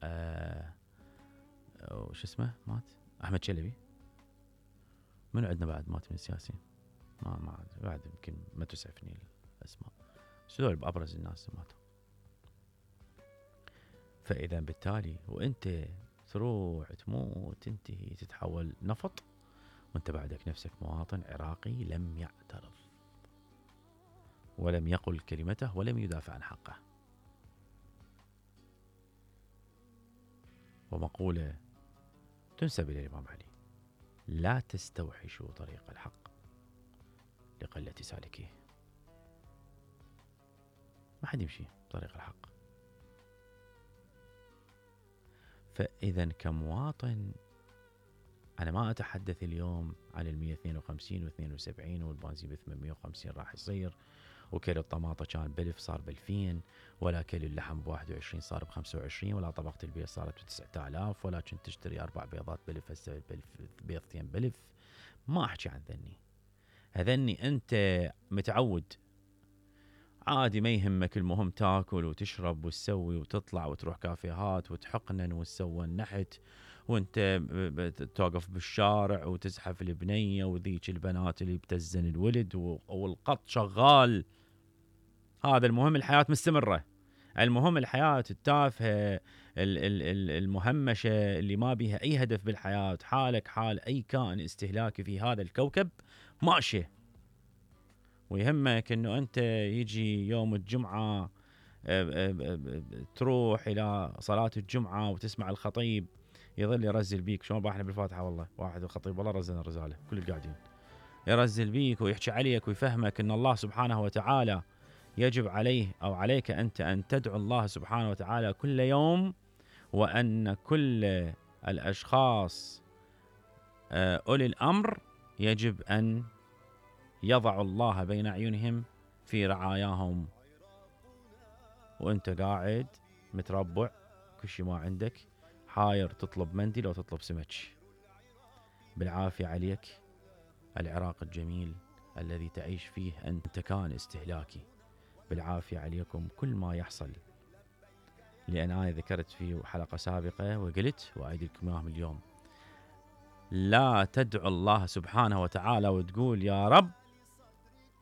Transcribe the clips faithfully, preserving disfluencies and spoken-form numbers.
آه وش اسمه مات احمد شلبي. منو عندنا بعد مات من السياسيين؟ ما ما بعد يمكن ما تسعفني الاسماء، بس هذول بابرز الناس ماتوا. فاذا بالتالي وانت تروح تموت تنتهي تتحول نفط، وانت بعدك نفسك مواطن عراقي لم يعترض ولم يقل كلمته ولم يدافع عن حقه. ومقولة تنسب إلى الإمام علي: لا تستوحشوا طريق الحق لقلة سالكيه. ما حد يمشي طريق الحق. فإذا كمواطن أنا ما أتحدث اليوم عن المية اثنين وخمسين واثنين وسبعين والبنزين بثمانمية وخمسين راح يصير، وكيلو الطماطة كان بألف صار بألفين، ولا كيلو اللحم بواحد وعشرين صار بخمسة وعشرين، ولا طبقة البيض صارت بتسعة آلاف، ولا كنت تشتري أربع بيضات بألف هسه بيضتين بألف. ما أحكي عن ذني، هذني أنت متعود عادي ما يهمك، المهم تاكل وتشرب وتسوي وتطلع وتروح كافيهات وتحقنن وتسوى النحت، وانت توقف بالشارع وتزحف البنية وذيك البنات اللي بتزن الولد والقط شغال. هذا المهم، الحياة مستمرة. المهم الحياة التافهة المهمشة اللي ما بيها أي هدف بالحياة، حالك حال أي كائن استهلاكي في هذا الكوكب ماشي. ويهمك أنه أنت يجي يوم الجمعة تروح إلى صلاة الجمعة وتسمع الخطيب يظل يرزل بيك. شلون باحنا بالفاتحة والله واحد الخطيب والله رزلنا الرزالة كل القاعدين يرزل بيك ويحكي عليك ويفهمك أن الله سبحانه وتعالى يجب عليه أو عليك أنت أن تدعو الله سبحانه وتعالى كل يوم، وأن كل الأشخاص أولي الأمر يجب أن يضعوا الله بين أعينهم في رعاياهم. وأنت قاعد متربع كل شيء ما عندك، حاير تطلب منديل أو تطلب سمك. بالعافية عليك العراق الجميل الذي تعيش فيه أنت كان استهلاكي. بالعافية عليكم كل ما يحصل. لأن أنا ذكرت في حلقة سابقة وقلت وأعيد لكم إياهم اليوم: لا تدعو الله سبحانه وتعالى وتقول يا رب،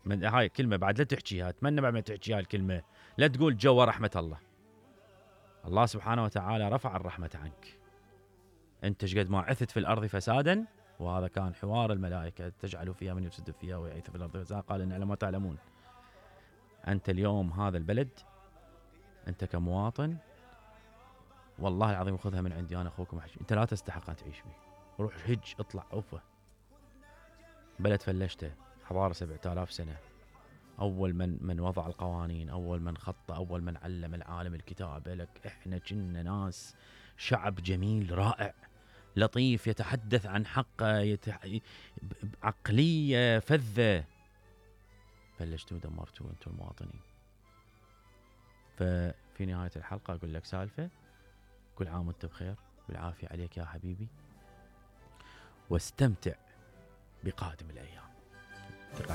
من هاي الكلمة بعد لا تحكيها، أتمنى بعد ما تحكيها الكلمة لا تقول جوا رحمة الله. الله سبحانه وتعالى رفع الرحمة عنك. أنت شقد ما عثت في الأرض فسادا، وهذا كان حوار الملائكة: تجعل فيها من يفسد فيها ويعيث في الأرض فسادا قال إن على ما تعلمون. أنت اليوم هذا البلد أنت كمواطن والله العظيم خذها من عندي أنا أخوكم أحكي، أنت لا تستحق أن تعيش فيه. روح هج اطلع أوفى. بلد فلشته حضارة سبعة آلاف سنة، أول من من وضع القوانين، أول من خط، أول من علم العالم الكتابة. لك إحنا كنا ناس شعب جميل رائع لطيف يتحدث عن حقه يتح... عقلية فذة. فلشتوا ودمرتوا أنتم المواطنين. ففي نهاية الحلقة أقول لك سالفة: كل عام وأنت بخير، بالعافية عليك يا حبيبي، واستمتع بقادم الأيام.